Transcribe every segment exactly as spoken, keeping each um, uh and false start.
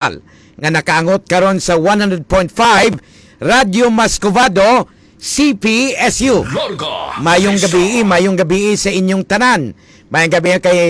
nga nakaangot karon sa one hundred point five Radyo Mascovado, C P S U. Larga Mayong Vista. Gabi, mayong gabi sa inyong tanan. Mayong gabi kay,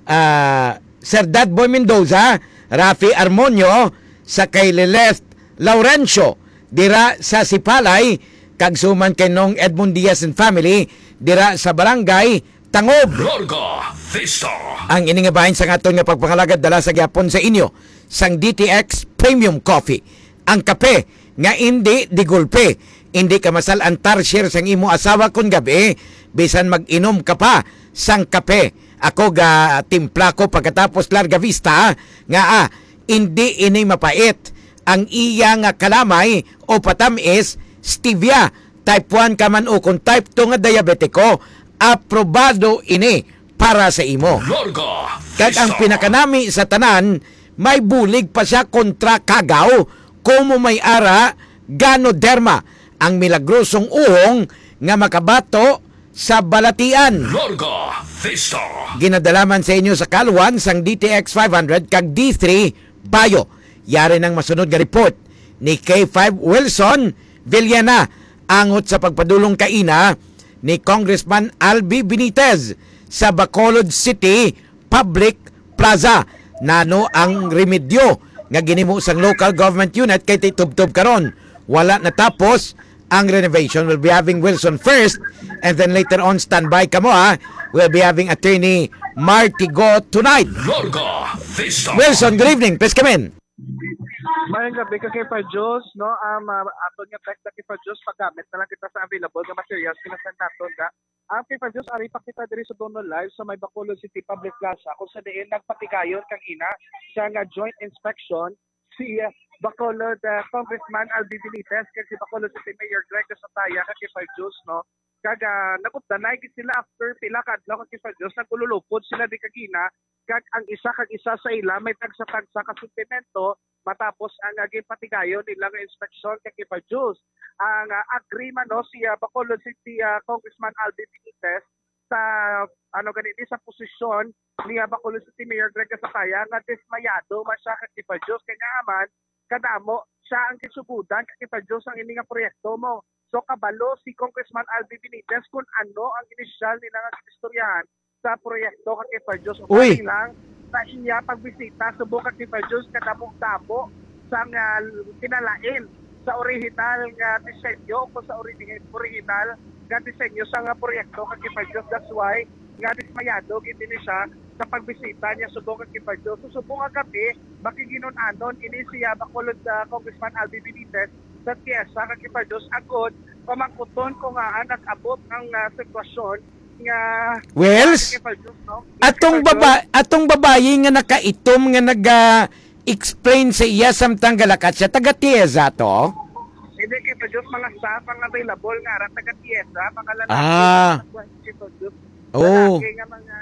ah, Sir Dad Boy Mendoza, Rafi Armonio, sa kay Lilith Laurencio, dira sa Sipalay, kag suman kay Nong Edmond Diaz and family, dira sa Barangay Tangob. Larga Vista. Ang ini nga bahin sang aton nga pagpangalagad dala sa gyapon sa inyo sang D T X Premium Coffee. Ang kape nga indi di gulpe. Indi ka masal-an tarsier sang imo asawa kon gabi, bisan mag-inom ka pa sang kape. Ako ga timpla ko pagkatapos Larga Vista, nga, ah, indi ini mapait. Ang iya nga kalamay o patamis, stevia, type one ka man o kung type two nga diabetiko, aprobado ini para sa imo. Larga Kag ang Vista. Pinakanami sa tanan, may bulig pa siya kontra kagaw, kumo may ara, ganoderma, ang milagrosong uhong nga makabato sa balatian. Larga Vista. Ginadalaman sa inyo sa Kalwan sang D T X five hundred kag D three Bayo. Yari nang masunod nga report ni K five Wilson Villena angot sa pagpadulong kaina ni Congressman Albi Benitez sa Bacolod City Public Plaza. Nano ang remedyo nga ginimo sang local government unit kay titubtob karon wala natapos ang renovation? We'll be having Wilson first, and then later on, standby kamo, ha. We'll be having Attorney Martigo tonight. Larga Vista. Wilson, good evening. Please come in. Mayong gabi ka kay Fajos, no? Um, uh, ato nga text na kay Fajos, paggamit na lang kita sa available nga materials, kinasend naton, ga. Ang kay Fajos, ari pa kita diri sa Dono Live sa may Bacolod City Public Plaza, kung sa diin nagpatigayon kang ina sa nga joint inspection si, uh, Bacolod, uh, Congressman Albi Benitez kag si Bacolod City Mayor Greg Gasataya kag kay Fajos, no? Kag, ah, nagupdanay gid sila after pila ka adlaw kag kay Fajos, nagululupod sila di kagina, kag ang isa kag isa sa ila may tagsa-tagsa ka sentimento matapos ang, ah, ginpatigayon nila nga inspeksyon kay kay Fajos. Ang, ah, agree man, no, si, ah, Bacolod City, ah, Congressman Albi Benitez sa, ano gani ni, sa posisyon ni, ah, Bacolod City Mayor Greg Gasataya nga dismayado man siya kay kay Fajos kay nga man kadamo siya ang gisugudan kay kay Fajos ang ini nga proyekto mo. So, kabalo si Congressman Albi Benitez kung ano ang inisyal nila nga ginistoryahan sa proyekto kag kay Fajos. Uy. Ugaling lang sa iya pagbisita subong kag kay Fajos kadamo-damo sang, ah, kinalain sa orihinal nga disenyo o sa ori-, orihinal nga disenyo sa nga proyekto kag kay Fajos. That's why nga dismayado gid ini siya sa pagbisita niya subong kag kay Fajos. So, subong nga gabi, makiginun-anon ini siya Bacolod, ah, Congressman Albi Benitez sa Tiesa kag kay Fajos agod pamangkuton kung ngaa nag-abot ang, ah, sitwasyon nga Wells, kay Fajos, no? Atong Kay Fajos. Baba-, atong babayi nga nakaitom nga naga-explain sa iya samtang galakat siya, taga Tiesa to? Hindi, kay Fajos, mga staff ang available nga ara taga Tiesa, mga lalaki Ah. Kay Fajos. Oh. Lalaki nga mga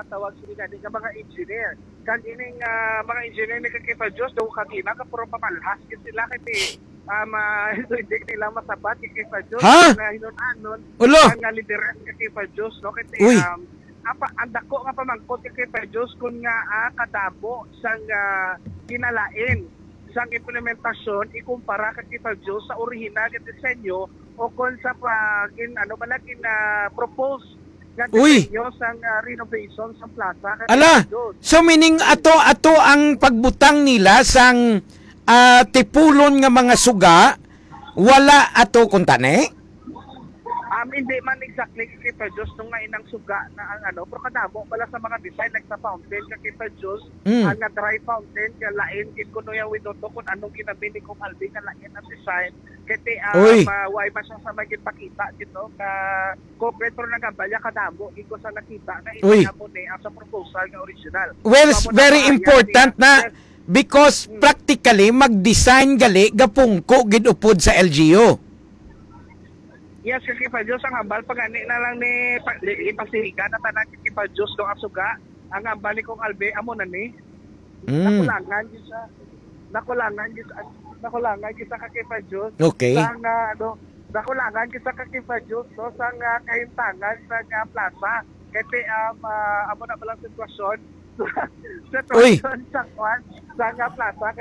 tawag sila nga mga engineer. Kag ining, ah, mga engineer ni kay Fajos, daw kagina ka puro pamalhas gid sila kay ti, um, ah, hindi nila masabat kay Fajos. Ha? Nga hinun-anon Ulo. Ang, ah, lideran kay Fajos, no? Kay ti, Uy. Um, apa, ang dako nga pamangkot kay Fajos kung nga, ah, kadamo sang, ah, kinalain sang implementasyon ikumpara kay Fajos sa orihinal nga disenyo o kon sa pag-, in-, ano ba lagi na propose nga Uy! Disenyo sang, ah, renovation sang plaza kag Ala, Doon. So meaning ato, ato ang pagbutang nila sang, ah, tipulon nga mga suga, wala ato kuntani? Um, hindi man exactly kay Fajos nung nga inang suga na ang ano, pero kadamo pala sa mga design like sa fountain kay Fajos, Mm. Ang nga dry fountain nga lain gid kuno yung winoto kung anong ginabi ni Kong Alvin nga lain ang design. Kay ti, ah, Uy. Ma-, why man siya sa may gipakita dito ka Corporate, pero nagambal niya kadamo, iko sa nakita nga Uy. Hindi na mo ni ang sa proposal nga original. Well, So, amo na very ba, important yan, na yes. Because Hmm. practically, mag-design gali, gapungko gid upod sa L G U. Yes, kay Kipa Diyos, ang hambal pa gani na lang ni pa-, ni ipasiga na tanan kay Kipa Diyos, no, ang suga. Ang hambal ni Kong Albe, amo na ni. Mm. Nakulangan gyud siya. Nakulangan gyud siya. Nakulangan gyud siya ka Kipa Diyos. Okay. Sa nga, ano, nakulangan gyud siya ka Kipa Diyos, no, sa nga kahimtangan sa nga plaza. Kay ti, um, ah, amo na palang sitwasyon. Uy. Sitwasyon sa kwan. Sa nga plaza, kag